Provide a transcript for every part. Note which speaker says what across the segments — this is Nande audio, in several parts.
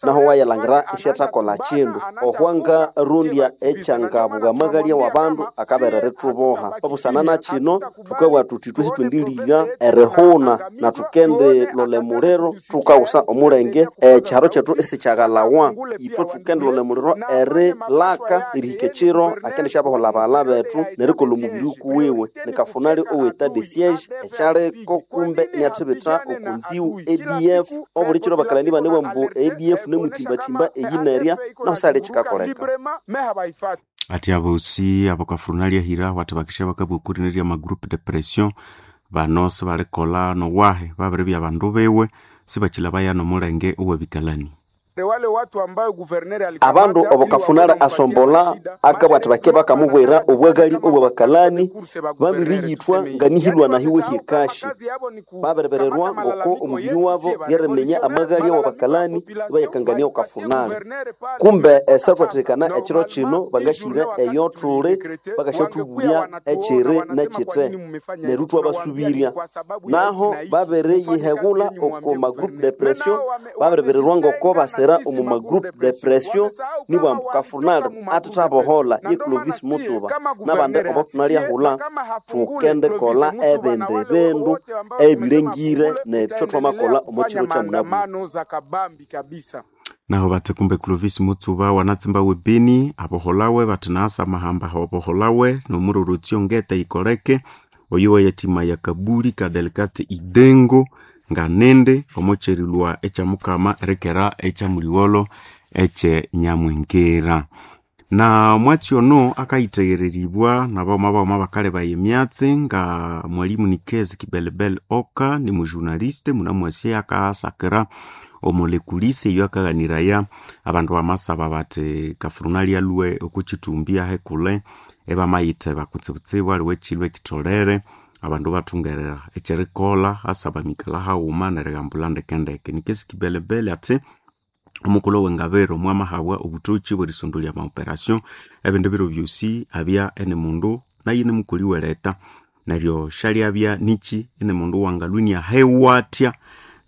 Speaker 1: Naho wayalangira isyathakolha kindu ohwanga rondya ekyangabuga amagalya w'abandu akabera erithuboha. Obusana na kino thukabugha thuthi ithwe sithwendiliga erihuna na thukendilolha emuliro thukaghusa omulenge ekyiharo kyethu isikyaghalhawa. Ithwe thukendilolha emuliro erilaka erihika ekiro akendisyaboholha abaghalha bethu nerikolha omubiri ukuwiwe. Nikafunali owe etat de siege ekyaliko kumbe iniathibitha oko nziwu ADF. Obuli kiro abakalani ibanebugha ambu ADF nemuthibathimba eyi nerya nahu sihali ekikakoleka.
Speaker 2: Ati abosi abakafurunali ahira wathi bakisya bakabwakurinirya ama groupe de pression bano sibalikolha nowahe babiribya bandu biwe sibakilabaya nomulenge owebikalani.
Speaker 1: Abandu obo Kafunali asombolha akabugha athi bake bakamubwira obwaghali obw'abakalani babiriyithwa nganihilwa nahiwe hyekashi. Babiribererwa ngoko omubiri wabo ryeriminya amaghalya w'abakalani ibayakangania oko Kafunali. Kumbe esyathwathikana ekiro kino bangasyira eyo thuli bakasyathubulya ekiri nekyite neryo ithwabasubirya. Naho babiriyiheghulha oko ma groupe de pression babiribirirwa ngoko basira omu ma groupe de pression nibugha ambu Kafunali athethaboholha ye Clovis Mutsuba nabandi obo thunalyahulha thukendikolha ebindi bindu ebilengire nekyo thwamakolha omo kiro kyamunabwire.
Speaker 2: Naho bathi kumbe Clovis Mutsuba wanatsimba webeni aboholawe bathi naasa amahamba aboholawe nomurorotyo ngete yikoleke oyo wayathima ya Kabuli Kadelikate Idengo nganende omukyerilwa ekyamukama erikera ekyamuliwolo ekye Nyamwengera. Na mwatsi ono akayiteghereribwa nabaghuma baghuma bakalebaya emyatsi nga mwalimu Nikezi Kibelebele Oka ni mujurnaliste munamwasi akasakira omulekulisi eyo akaghaniraya abandu bamasaba bathi Kafurunali alhwe okukithumbi ahekule ibamayitheba kutsibutsibu aliwe ekyilhu ekyitholere abandu bathungerera ekyerikolha asaba mikalha haghuma nerighambulha ndekendeke. Nikezi Kibelebele athi omukulhu owengabiro mwamahabwa obuthoki bwerisondolya ama operation ebindi biro byosi abya eni mundu nayo inimukoli weleta neryo syalyabya niki ini mundu wangalhwa iniahewathya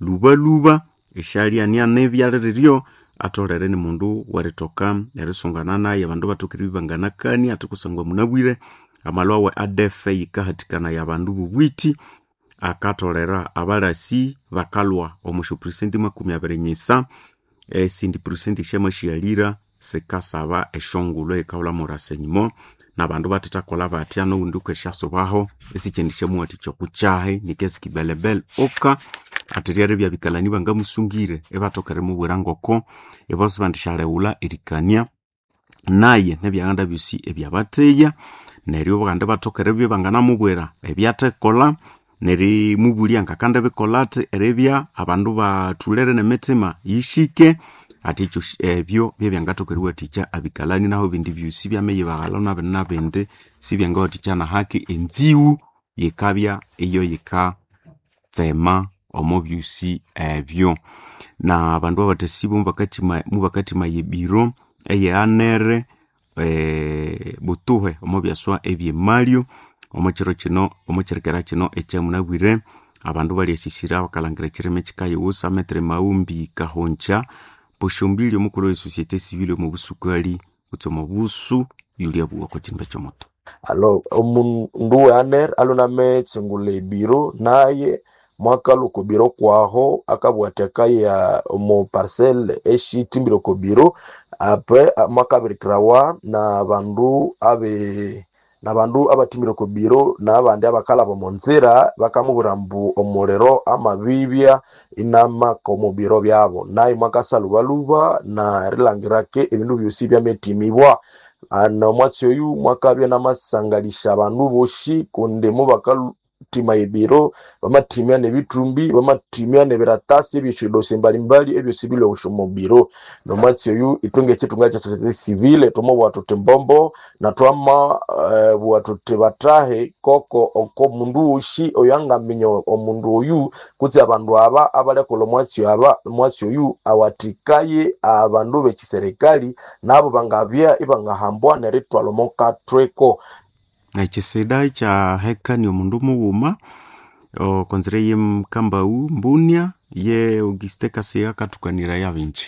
Speaker 2: lhubalhuba esyalya nianibya liriryo atholere ni mundu werithoka erisungana naye abandu bathoka eribya ibanganakania athi kusangwa munabwire amalhwa awe ADF yikahathikanaya abandu bobwithi akatholera abalasi bakalhwa omo syopurisenti 25 esindi purisenti esyamasyalyira sikasaba esyongulho eyikahulha renseignement nabandu bathethakolha bathya noghundi wukesyasubaho esikyendisyamuwathikya okukyahi Nikezi Kibelebele Oka athi ryeribya abikalani bangamusungire ibathoka erimubwira ngoko ibo sibandisyalheghulha erikania naye nebyaghanda byosi ebyabatheya neryo kandi ibathoka eribya ibanganamubwira ebyathekolha nerimubulya ngakandibikolha athi eribya abandu bathulere nemitima yishike athi ekyo ebyo byebyangathoka eriwathikya abikalani naho ebindi byosi byameyibaghalha nabindi nabindi sibyangawathikya nahaki enziwu yikabya iyo yikatsema omo byosi ebyo. Na abandu abathasibo mubakathimaya ebiro eye anere butuhe omo byaswa ebyemalyo omo kiro kino omo kyirikera kino ekyamunabwire abandu balyasisira bakalhangira ekyirima ekyikayiwusa Metre Maghumbi Kahongya Poshombili omukulhu we societe civile omo busukali kutse omo busu yulyabugha okwa kyindu ekyomoto.
Speaker 3: Alo omundu we ANR alhunametsingulha ebiro naye mwakalhwa oko biro kwaho akabugha athi akaya omo parcel esyithimbire oko biro apres mwakabirikirawa nabandu abe nabandu abathimbire oko biro nabandi abakalhaba omo nzira bakamubwira ambu omuliro amabibya inamaka omo biro byabo naye mwakasa lhubalhuba nerilhangira ke ebindu byosi byametimibwa. Nomwatsi oyu mwakabya inamasangalisya abandu bosi kundi mubakathima ebiro bamathimya nebithumbi bamathimya nebiratasi ebyesyodosi mbalimbali ebyosi bilhwe omo biro. Nomwatsi oyu ithwe ngekyithunga kya societe civile thwamabugha thuthi mbombo nathwamabugha thuthi bathahe koko oko mundu wosi oyangaminya omundu oyu kutse abandu aba abalyakolha omwatsi aba omwatsi oyu awathikaye abandu bekiserikali nabo bangabya ibangahambwa nerithwalha omo kathweko.
Speaker 2: Ekyisida ekyahekania omundu mughuma okonzira eye Mukambaghu Mbunia. Ye Auguste Kasiga akathukanira yabinji.